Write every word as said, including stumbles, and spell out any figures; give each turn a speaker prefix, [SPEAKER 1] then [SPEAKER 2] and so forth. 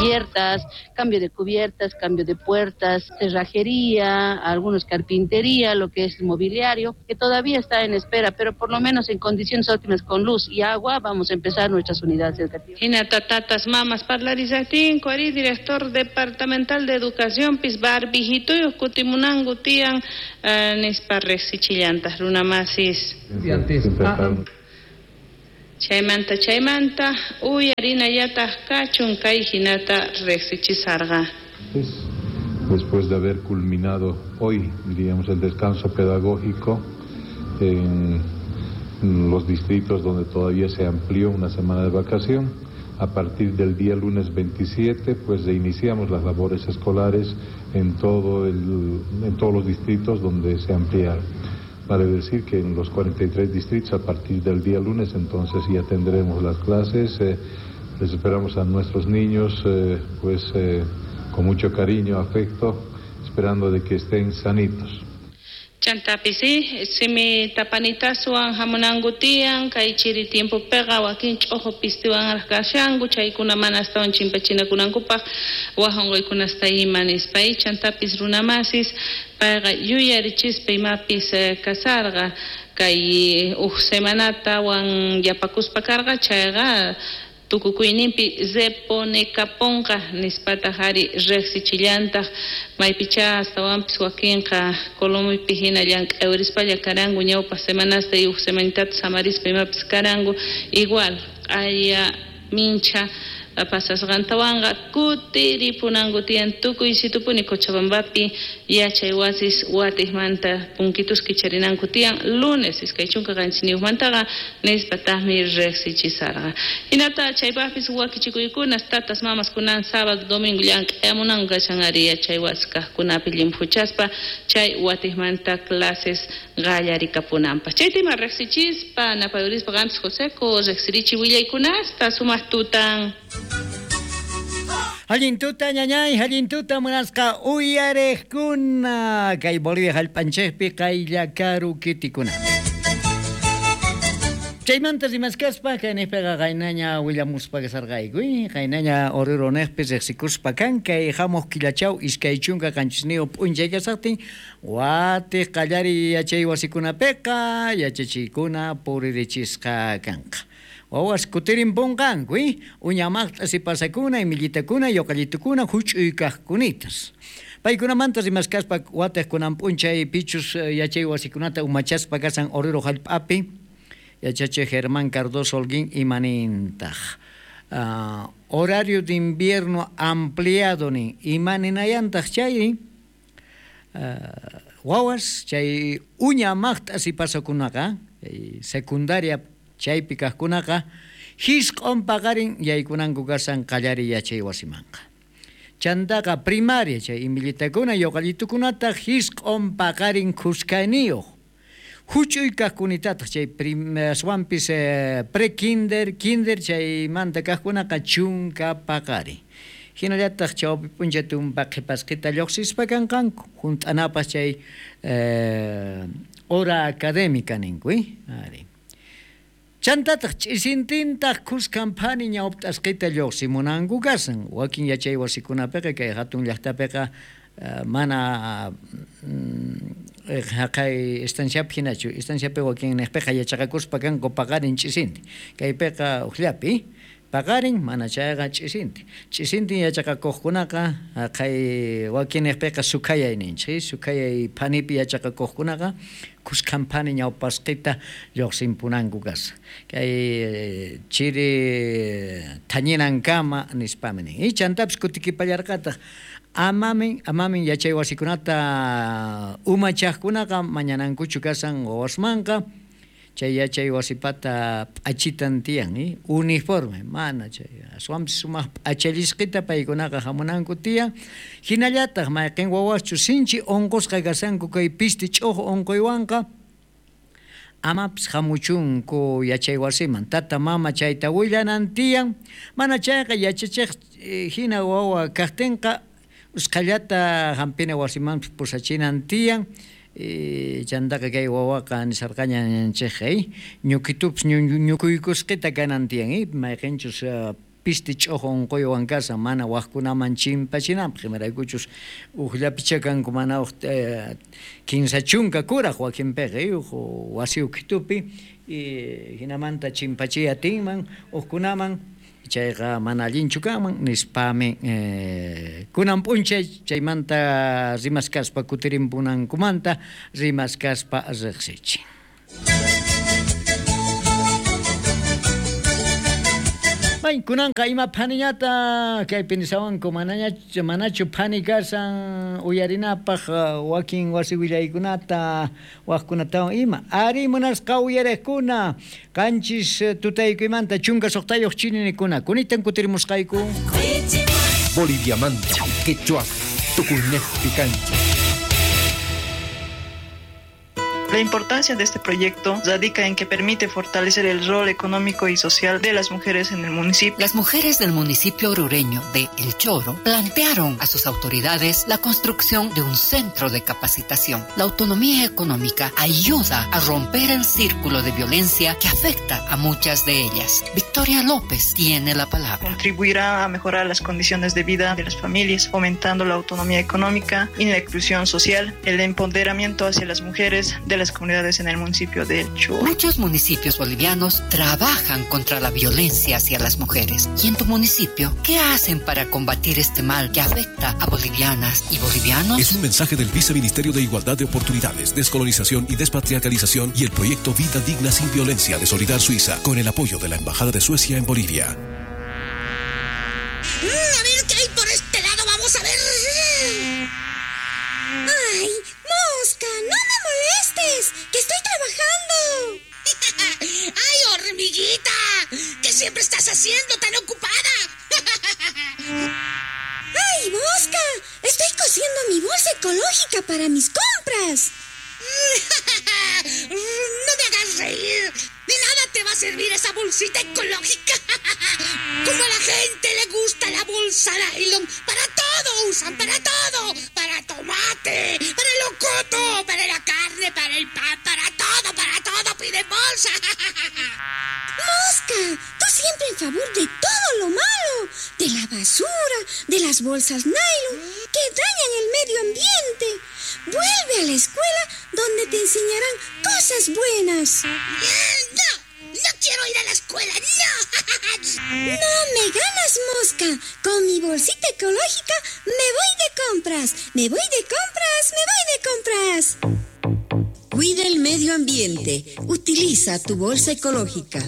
[SPEAKER 1] Cubiertas, cambio de cubiertas, cambio de puertas, cerrajería, algunos carpintería, lo que es mobiliario, que todavía está en espera, pero por lo menos en condiciones óptimas con luz y agua vamos a empezar nuestras unidades educativas.
[SPEAKER 2] Hinata tatas mamas parlarisaqtinku ari director departamental de educación pis barbijituyuq kutimunanku tiyan uh, nispa riqsichillantaj runamasis. Chaymanta chaymanta uyarinallataq kachun kay hinata riqsichisarqa.
[SPEAKER 3] Después de haber culminado hoy, diríamos, el descanso pedagógico en los distritos donde todavía se amplió una semana de vacación, a partir del día lunes veintisiete, pues iniciamos las labores escolares en todo el, en todos los distritos donde se ampliaron. Vale decir que en los cuarenta y tres distritos a partir del día lunes entonces ya tendremos las clases. Eh, les esperamos a nuestros niños eh, pues eh, con mucho cariño, afecto, esperando de que estén sanitos.
[SPEAKER 2] Chantapis, simi tapanitasuwan hamunanku tiyan, kay chiri tiempo pega wakin ch'ojo pistiwan kashanku, chaykuna mana astawan chimpachinakunankupaq waj unquykunasta ima nispa. Chantapis runamasis payqa yuyarichispa imapis kasarqa kay uj semanatawan yapakuspa karqa chayqa tukukuyninpi reponekaponqa nispataq ari riqsichillantaq maypicha astawanpis wakinqa Colombiapi hina llank'ayurispalla karanku ñawpaq semanasta y uj semanitata samarispa imapis karanku igual q'aya mincha pasasqantawanqa kutiripunanku tiyan tukuy situpuni Cochabambapi yachay wasis watiqmanta punkitus kicharinanku tiyan lunes iskay chunka qanchisniyuqmantaqa nispataqmi riqsichisarqa. Hinata chaypaqpis wakichikuykunas tatas mamas kunan sábado domingo llank'ayamunanku kashan ari yachay wasi kaqkunapi llimphuchaspa chay watiqmanta clases qallarikapunanpaq. Chaytima riqsichispa napayurispa qampis Joseco riqsirichi willaykunasta sumaq tutan.
[SPEAKER 4] Allin tuta ñañay, allin tuta munasqa uyariqkuna kay Bolivia hallp'anchikpi qayllakaru kitikuna. Chaymanta rimaskaspa kayniqpiqa qaynaña willamuspa kasarqayku, qaynaña Oruro niqpi riqsikuspa kan kay hamuq killachaw iskay chunka qanchisniyuq p'unchay kasaqtin watiq qallariy yachay wasikunapiqa yachachiykuna puririchisqa kanqa. Wawas kutirimpunqanku, uñamaqta sipasakuna, imillitakuna, yoqallitukuna, huch'uykaqkunitas. Paykunamanta rimaskaspa watiq kunan p'unchay pichus yachay wasikunata umachaspa kasan Oruro hallp'api yachachiq Germán Cardoso Holguín imanintaq. Uh, horario de invierno ampliado nin imaninayantaq chay uh, wawas chay uña maqta sipasakunaqa secundaria chaypi kaqkunaqa hisq'un paqarin yaykunanku kasan qallariy yachay wasimanqa. Chantaqa primaria chay imillitakuna yoqallitukunataq hisq'un paqarin khuskayniyuq. Huch'uy kaqkunitataq chay aswanpis eh, pre-kinder, kinder chaymanta kaqkunaqa chunka paqarin. Hinallataq chawpi p'unchay tumpa qhipasqita lluqsispa kanqanku hunt'anapas chay eh, hora académica ninku, eh? Ari. Chantataq ch'isintintaq khuskan phani ñawpt'asqita lluqsimunanku kasan. Wakin yachay wasikunapiqa kay hatun llaqtapiqa uh, mana haqay estanciapi hinachu. Estanciapi wakin niqpiqa yachaqakuspa kanku paqarin ch'isinti. Kaypiqa uqllapi paqarin mana chayqa ch'isinti. Ch'isintin yachaqakuqkunaqa haqay wakin niqpiqa sukhayay ninchik. Sukhayay phanipi yachaqakuqkunaqa khuskan phani ñawpasqita lluqsimpunanku kasa. Kay chiri thañinankama nispami nin. Y chantapis kutikipallarqataq amamin amamin yachay wasikunata umachaqkunaqa mañanankuchu kasan wawasmanqa chay yachay wasipata p'achitan tiyan, eh? Uniforme mana chay aswanpis sumaq p'achallisqita paykunaqa hamunanku tiyan. Hinallataq mayqin wawaschu sinchi unqusqa kasanku kay pisti ch'uju unquywanqa amapis hamuchunku yachay wasiman tata mama chayta willanan tiyan. Mana chayqa yachachiq hina wawa kaqtinqa usqhallata hampina wasimanpis pusachinan tiyan. Chantaqa kay wawaqa nisarqaña ñanchikqa ñukitupis ñukuykusqita kanan tiyan, mayqinchus piste ch'ojo unquywan kashan mana wajkunaman chimpachinanpaq imaraykuchus ujllapicha kanku mana uj eh, kinsa chunka kuraj wakinpiqa uj wasi ukhitupi y hinamanta chimpachiy atinman ujkunaman chayqa mana allinchu kanman nispami eh, kunan p'unchay chaymanta rimaskaspa kutirimpunankumanta rimaskaspa riqsichin. May kunanqa ima phaniñata kaypi nisawanku manaña manachu phani kasan uyarinapaq wakin wasi willaykunata wajkunatawan ima ari munasqa uyariqkuna qanchis tutaykuymanta chunka suqtayuq chininikuna kunitan kutirimusqayku
[SPEAKER 5] Boliviamanta quechua tukuynejpi kanchik.
[SPEAKER 6] La importancia de este proyecto radica en que permite fortalecer el rol económico y social de las mujeres en el municipio.
[SPEAKER 7] Las mujeres del municipio orureño de El Choro plantearon a sus autoridades la construcción de un centro de capacitación. La autonomía económica ayuda a romper el círculo de violencia que afecta a muchas de ellas. Victoria López tiene la palabra.
[SPEAKER 6] Contribuirá a mejorar las condiciones de vida de las familias, fomentando la autonomía económica y la inclusión social, el empoderamiento hacia las mujeres de las comunidades en el municipio de El Choro.
[SPEAKER 7] Muchos municipios bolivianos trabajan contra la violencia hacia las mujeres. ¿Y en tu municipio qué hacen para combatir este mal que afecta a bolivianas y bolivianos?
[SPEAKER 8] Es un mensaje del Viceministerio de Igualdad de Oportunidades, Descolonización y Despatriarcalización y el proyecto Vida Digna sin Violencia de Solidar Suiza, con el apoyo de la Embajada de Suecia en Bolivia.
[SPEAKER 9] A ver qué hay por este lado, vamos a ver.
[SPEAKER 10] ¡Ay, mosca! ¡No me molestes! ¡Que estoy trabajando!
[SPEAKER 9] ¡Ay, hormiguita! ¿Qué siempre estás haciendo tan ocupada?
[SPEAKER 10] ¡Ay, mosca! Estoy cosiendo mi bolsa ecológica para mis compras.
[SPEAKER 9] ¡No me hagas reír! ¡De nada te va a servir esa bolsita ecológica! Como a la gente le gusta la bolsa nylon, para todo usan, para todo. Para tomate, para el locoto, para la carne, para el pan, para todo, para todo piden bolsa.
[SPEAKER 10] ¡Mosca! Tú siempre en favor de todo lo malo, de la basura, de las bolsas nylon, que dañan el medio ambiente. Vuelve a la escuela donde te enseñarán cosas buenas.
[SPEAKER 9] ¡No! ¡No quiero ir a la escuela! ¡No!
[SPEAKER 10] ¡No me ganas, mosca! Con mi bolsita ecológica me voy de compras. ¡Me voy de compras! ¡Me voy de compras! Cuida el medio ambiente. Utiliza tu bolsa ecológica.